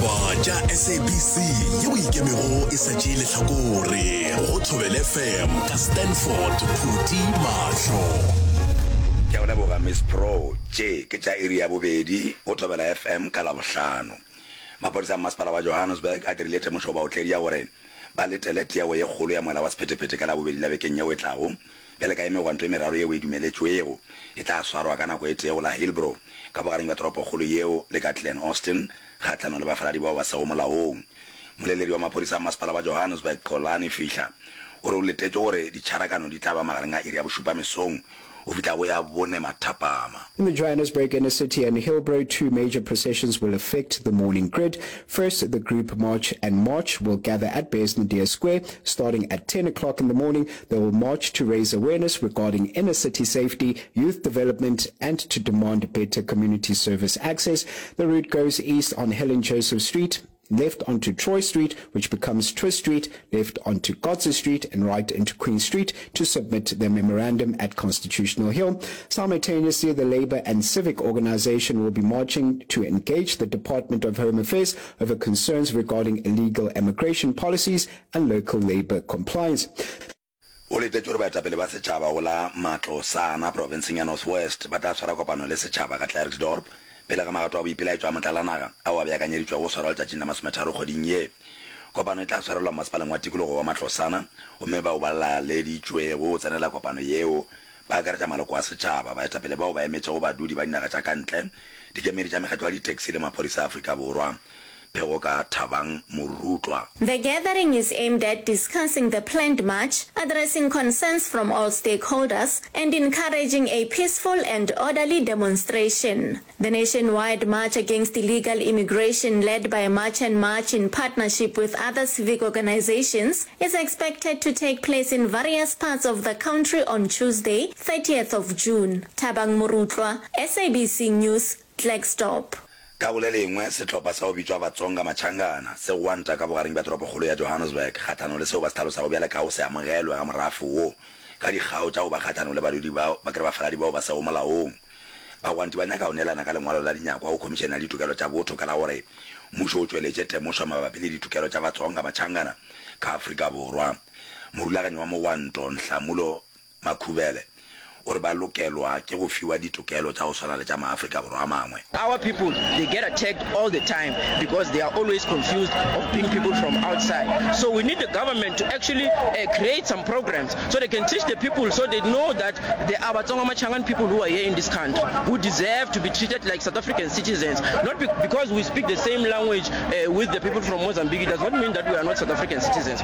Ditaba tša SABC yeo e ikemego e sa tšee lehlakore go Thobela FM ka Stanford Phuti Mahlo. Ke a go leboga Miss Pro. Tše ke tša iri ya bobedi go Thobela FM ka Labohlano. Maphodisa a Mmasepala wa Johannesburg a dirile temošo go baotledi ya gore ba letele tiego ye kgolo ya moela wa sephethephethe ka Labobedi la bekeng yeo e tlago Bjale ka ye megwanto e meraro yeo e dumeletšwego e tla swarwa ka nako e tee go la Hillbrow, ka bogareng bja toropokgolo yeo le ka Glen Austin, kgahlanong le bafaladi bao ba sego molaong. Moleledi wa maphodisa a masepala wa Johannesburg, Xolani Fihla, o re o letetše gore ditšharakano di tla ba magareng a iri ya bošupa mesong go fihla go ya bone mathapama. In the Johannesburg inner city and Hillbrow, two major processions will affect the morning grid. First, the group March and March will gather at Bears Nadir Square starting at 10 o'clock in the morning. They will march to raise awareness regarding inner city safety, youth development, and to demand better community service access. The route goes east on Helen Joseph Street, left onto Troy Street, which becomes Twist Street, left onto Kotze Street, and right into Queen Street to submit their memorandum at Constitutional Hill. Simultaneously, the Labour and Civic Organization will be marching to engage the Department of Home Affairs over concerns regarding illegal immigration policies and local labour compliance. O letetše gore baetapele ba setšhaba go la Matlosana profenseng ya North West ba tla swara kopano le setšhaba ka Klerksdorp pele ga magato a boipelaetšo a motlalanaga ao a beakanyeditšwego go swarwa letšatšing la masometharo kgweding ye. Kopano e tla swarelwa mmasepaleng wa tikologo wa Matlosana gomme bao ba laleditšwego go tsenela kopano yeo ba akaretša maloko a setšhaba, baetapele bao ba emetšego badudi ba dinaga tša ka ntle, dikemedi tša mekgatlo ya ditaxi le maphodisa a Afrika Borwa. Pego ka Thabang Morutlwa. The gathering is aimed at discussing the planned march, addressing concerns from all stakeholders, and encouraging a peaceful and orderly demonstration. The nationwide march against illegal immigration led by March and March in partnership with other civic organizations is expected to take place in various parts of the country on Tuesday, 30th of June. Thabang Morutlwa, SABC News, Klerksdorp. Ka go le lengwe, sehlopha sa go bitšwa Vatsonga Machangana se gwanta ka bogareng bja toropokgolo ya Johannesburg kgahlanong le seo ba se hlalosago bjale ka go se amogelwe ga morafe wo ka dikgao tša go ba kgahlanong le badudi ba ba kere bafaladi bao ba sego molaong. Bagwanti ba nyaka go neelana ka lengwalo la dinyakwa go Khomišene ya Ditokelo tša Botho ka la gore mmušo o tšweletše temošo mabapi le ditokelo tša Vatsonga Machangana ka Afrika Borwa. Morulaganyi wa mogwanto, Nhlamulo Makhubele o re ba lokelwa ke go fiwa ditokelo tša go swana le tša maAfrika Borwa a mangwe. Our people they get attacked all the time because they are always confused of being people from outside so we need the government to actually create some programs so they can teach the people so they know that there are Batsonga Machangan people who are here in this country who deserve to be treated like South African citizens not be because we speak the same language with the people from Mozambique it does not mean that we are not South African citizens.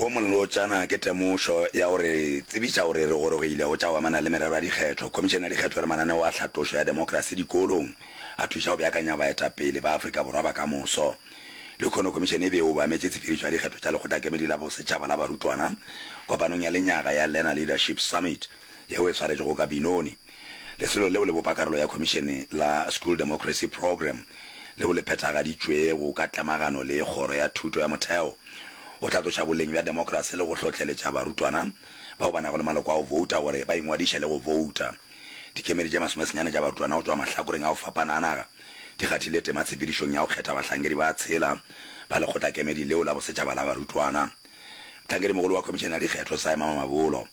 Wo molotšana ke temošo ya go re tsebiša gore re gorogile go tša go amana le merero ya dikgetho. Khomišene ya Dikgetho e re mananeo a tlhatlošo ya demokrasi dikolong a thuša go beakanya baetapele ba Afrika Borwa ba ka moso. Lehono khomišene e be e obametše tshepedišo ya dikgetho tša Lekgotlakemedi la Bosetšhaba la Barutwana kopanong ya lenyaga ya Learner Leadership Summit yeo e swaretšwego ka Benoni. Lesolo leo le bopa karolo ya Khomišene la School Democracy Programme leo le phethagaditšwego ka tlemagano le Kgoro ya Thuto ya Motheo go hlatloša boleng bja demokrasi le go hlohleletša barutwana bao ba nago le maloko a go bouta gore ba ingwadiše le go bouta. Dikemedi tše masomesenyane tša barutwana go tšwa mahlakoreng a go fapana a naga di kgathile tema tshepedišong ya go kgetha bahlankedi ba tshela ba lekgotlakemedi leo la bosetšhaba la barutwana. Mohlankedimogolo wa Khomišene ya Dikgetho, Saima Mamabolo,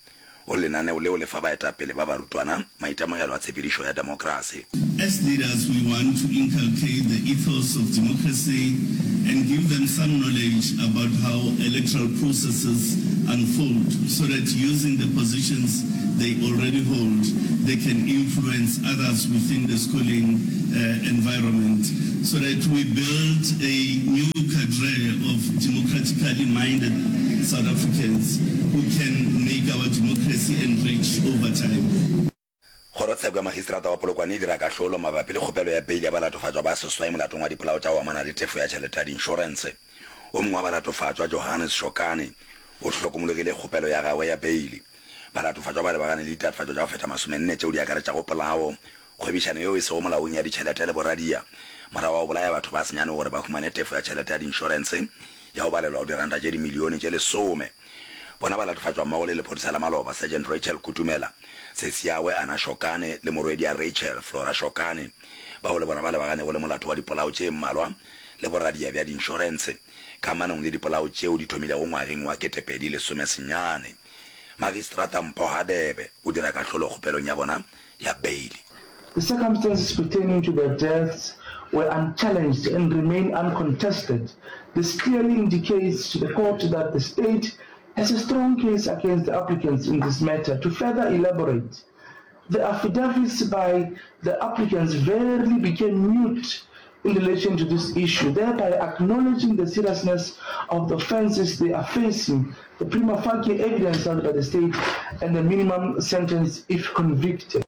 O re lenaneo leo le fa baetapele ba barutwana maitemogelo a tshepedišo ya demokrasi. As leaders we want to inculcate the ethos of democracy and give them some knowledge about how electoral processes unfold so that using the positions they already hold they can influence others within the schooling environment so that we build a new cadre of democratically minded South Africans who can make our democracy enrich over time. Kgorotsheko ya Magistrata wa Polokwane e dira kahlolo mabapi le kgopelo ya peile ya balatofatšwa ba seswai molatong wa dipolao tša go amana le tefo ya tšhelete ya diinšorense. O mongwe wa balatofatšwa, Johannes Shokane, o hlokomologile kgopelo ya gagwe ya beile. Balatofatšwa ba lebagane le ditatofatšo tša go feta masomenne tšeo di akaretšago polao, kgwebišano yeo e sego molaong ya ditšhelete le boradia morago ga go bolaya batho ba senyane gore ba humane tefo ya tšhelete ya diinšorense ya go balelwa go diranta tše dimilione tše lesome. Bona ba latofatšwa mmogo le lephodisa la maloba, Sergeant Rachel Kutumela, sesiagwe Anna Shokane le morwedi'a Rachel, Flora Shokane, bao le bona ba lebaganego le molato wa dipolao tše mmalwa le boradia bja diinšorense kamanong le dipolao tšeo di thomilego ngwageng wa 2019. Magistrata Mpho Hadebe o dira kahlolo kgopelong ya bona ya beili. The circumstances pertaining to their deaths were unchallenged and remain uncontested. This clearly indicates to the court that the state has a strong case against the applicants in this matter. To further elaborate, the affidavits by the applicants verily became mute in relation to this issue, thereby acknowledging the seriousness of the offences they are facing, the prima facie evidence held by the state and the minimum sentence if convicted.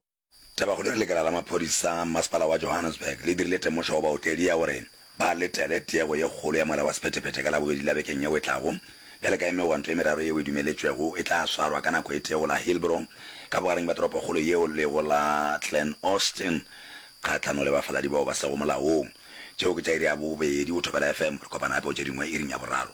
Tabakgolo e re lekala la maphodisa masepala wa Johannesburg le dirile temošo go baotledi ya gore ba letele tiego ye kgolo ya mola wa sephethephethe ka Labobedi la bekeng yeo e tlago. Bjale ka e megwanto e meraro yeo e dumeletšwego e tla swarwa ka nako e tee go la Hillbrow ka bogareng bja toropokgolo yeo le go la Glen Austin kgahlano le bafaladi bao ba sego molaong. Tšeo ke tša iri ya bobedi go Thobela FM. Re kopana gape go tše dingwe iring ya boraro.